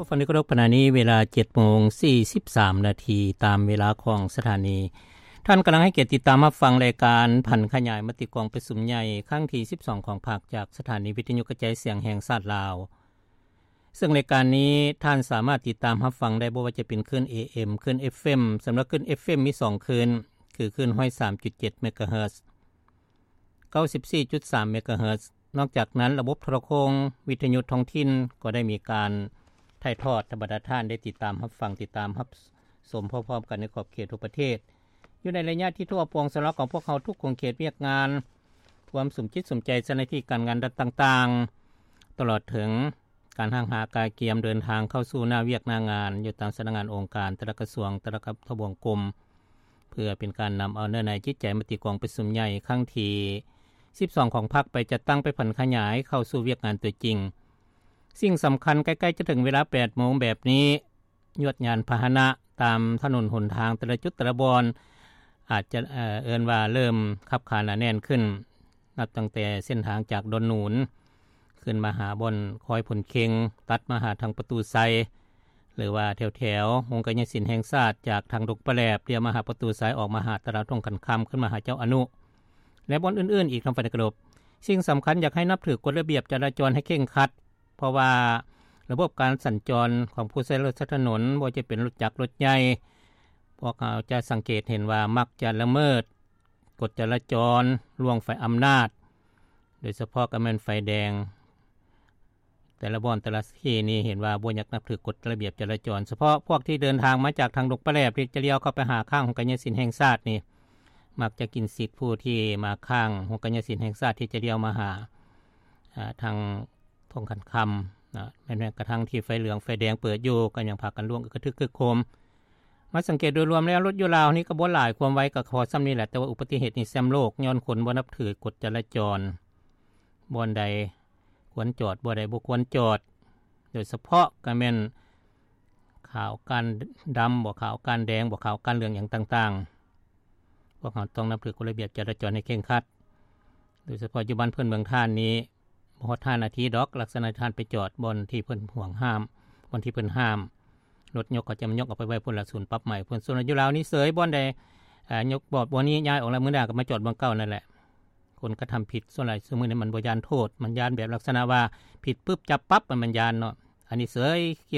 ຜູ້ຟັງທີ່ເຄົາລົບ, ຂະນະນີ້ເວລາເຈັດໂມງສີ່ສິບສາມນາທີ ຕາມເວລາຂອງສະຖານີ. ທ່ານກຳລັງໃຫ້ກຽດຕິດຕາມຮັບຟັງລາຍການຜັນຂະຫຍາຍມະຕິກອງປະຊຸມໃຫຍ່ຄັ້ງທີສິບສອງຂອງພັກ ຈາກສະຖານີວິທະຍຸກະຈາຍສຽງແຫ່ງຊາດລາວ. ເຊິ່ງລາຍການນີ້ທ່ານສາມາດຕິດຕາມຮັບຟັງໄດ້ ບໍ່ວ່າຈະເປັນຄື້ນ ເອເອັມ ຄື້ນ ເອັຟເອັມ. ສຳລັບຄື້ນ ເອຟເອັມ ມີສອງຄື້ນ ຄືຄື້ນຮ້ອຍສາມຈຸດເຈັດເມກາເຮີດ ເກົ້າສິບສີ່ຈຸດສາມເມກາເຮີດ. ນອກຈາກນັ້ນ ລະບົບໂທລະໂຄ່ງວິທະຍຸທ້ອງຖິ່ນກໍໄດ້ມີການຖ່າຍທອດໃຫ້ບັນດາທ່ານໄດ້ຕິດຕາມຮັບຟັງ, ຕິດຕາມຮັບຊົມພ້ອມໆກັນໃນຂອບເຂດທົ່ວປະເທດ. ຢູ່ໃນໄລຍະທີ່ທົ່ວປວງສຳລັບຂອງພວກເຮົາທຸກຂົງເຂດວຽກງານ, ຄວາມສຸມຈິດສຸມໃຈເຈົ້າໜ້າທີ່ການງານລັດຕ່າງໆ, ຕະຫຼອດເຖິງການຮ່າງຫາກະກຽມເດີນທາງເຂົ້າສູ່ໜ້າວຽກໜ້າງານ ຢູ່ຕາມສຳນັກງານອົງການ, ແຕ່ລະກະຊວງ, ແຕ່ລະກະທະບວງກົມ, ເພື່ອເປັນການນຳເອົາເນື້ອໃນຈິດໃຈມະຕິກອງປະຊຸມໃຫຍ່ຄັ້ງທີສິບສອງຂອງພັກ ໄປຈັດຕັ້ງ, ໄປຜັນຂະຫຍາຍເຂົ້າສູ່ວຽກງານຕົວຈິງ. ສິ່ງສຳຄັນ, ໃກ້ໆຈະເຖິງເວລາແປດໂມງແບບນີ້, ຍວດຍານພາຫະນະຕາມຖະໜົນຫົນທາງແຕ່ລະຈຸດແຕ່ລະບ່ອນ ອາດຈະ ເອີ້ນວ່າເລີ່ມຂັບຂາໜາແໜ້ນຂຶ້ນ, ນັບຕັ້ງແຕ່ເສັ້ນທາງຈາກດອນໜູນ ຂຶ້ນມາຫາບ່ອນຄອຍຜົນເຄັງ, ຕັດມາຫາທາງປະຕູໄຊ ຫຼືວ່າແຖວໆໂຮງກາຍຍະສິນແຫ່ງຊາດ, ຈາກທາງດົງປາແຫຼບ ລ້ຽວມາຫາປະຕູໄຊ, ອອກມາຫາຕະຫຼາດທົ່ງຂັນຄຳ, ຂຶ້ນມາຫາເຈົ້າອະນຸ ແລະ ບ່ອນອື່ນໆອີກ ທ່ານທີ່ເຄົາລົບ. ສິ່ງສຳຄັນ, ຢາກໃຫ້ນັບຖືກົດລະບຽບຈະລາຈອນໃຫ້ເຄັ່ງຄັດ, ເພາະວ່າລະບົບການສັນຈອນຂອງຜູ້ໃຊ້ລົດໃຊ້ຖະໜົນ, ບໍ່ວ່າຈະເປັນລົດຈັກລົດໃຫຍ່, ພວກເຮົາຈະສັງເກດເຫັນວ່າມັກຈະລະເມີດກົດຈະລາຈອນ, ລ່ວງໄຟອຳນາດ, ໂດຍສະເພາະກໍແມ່ນໄຟແດງ. ແຕ່ລະບ່ອນແຕ່ລະທີ່ນີ້ເຫັນວ່າບໍ່ຢາກນັບຖືກົດລະບຽບຈະລາຈອນ, ສະເພາະພວກທີ່ເດີນທາງມາຈາກທາງດົງປາແຫຼບ ທີ່ຈະລ້ຽວເຂົ້າໄປຫາຂ້າງໂຮງກາຍຍະສິນແຫ່ງຊາດນີ້ ມັກຈະກິນສິດຜູ້ທີ່ມາຂ້າງໂຮງກາຍຍະສິນແຫ່ງຊາດ ທີ່ຈະລ້ຽວມາຫາ ອາ ທາງທົ່ງຂັນຄຳນະ, ແມ່ນກະທັ່ງທີ່ໄຟເຫຼືອງໄຟແດງເປີດຢູ່ ກໍຍັງພາກັນລ່ວງອຶກກະທຶກຄຶກໂຄມ. ມາສັງເກດໂດຍລວມແລ້ວ ລົດຢູ່ລາວນີ້ກໍບໍ່ຫຼາຍ, ຄວາມໄວກໍພໍສ່ຳນີ້ແຫຼະ, ແຕ່ວ່າອຸບັດຕິເຫດນີ້ແຊມໂລກ ຍ້ອນຄົນບໍ່ນັບຖືກົດຈະລາຈອນ. ບ່ອນໃດຄວນຈອດ, ບ່ອນໃດບໍ່ຄວນຈອດ, ໂດຍສະເພາະກໍແມ່ນຂາວກ້ານດຳບໍ, ຂາວກ້ານແດງບໍ, ຂາວກ້ານເຫຼືອງຫຍັງຕ່າງໆ. ພວກເຮົາຕ້ອງນັບຖືກົດລະບຽບຈະລາຈອນໃຫ້ເຄັ່ງຄັດ, ໂດຍສະເພາະຢູ່ບ້ານເພິ່ນເມືອງທ່ານນີ້ ບໍ່ຮອດຫ້ານາທີດອກ, ລັກສະນະທ່ານໄປຈອດບ່ອນທີ່ເພິ່ນຫວງຫ້າມ, ບ່ອນທີ່ເພິ່ນຫ້າມ, ລົດຍົກເຂົາຈະມາຍົກອອກໄປໄວ້ພຸ້ນລະ ສູນປັບໃໝພຸ້ນ. ສ່ວນຢູ່ລາວນີ້ເສີຍ, ບ່ອນໃດ ອາ ຍົກບອກບ່ອນນີ້ຍ້າຍອອກແລ້ວ, ມື້ໜ້າກໍມາຈອດບ່ອນເກົ່ານັ້ນແຫຼະ. ຄົນກະທຳຜິດສ່ວນຫຼາຍຊຸມື້ນີ້ມັນບໍ່ຢ້ານໂທດ, ມັນຢ້ານແບບລັກສະນະວ່າຜິດປຶບຈັບປັບ, ມັນ ມັນຢ້ານເນາະ. ອັນນີ້ເສີຍ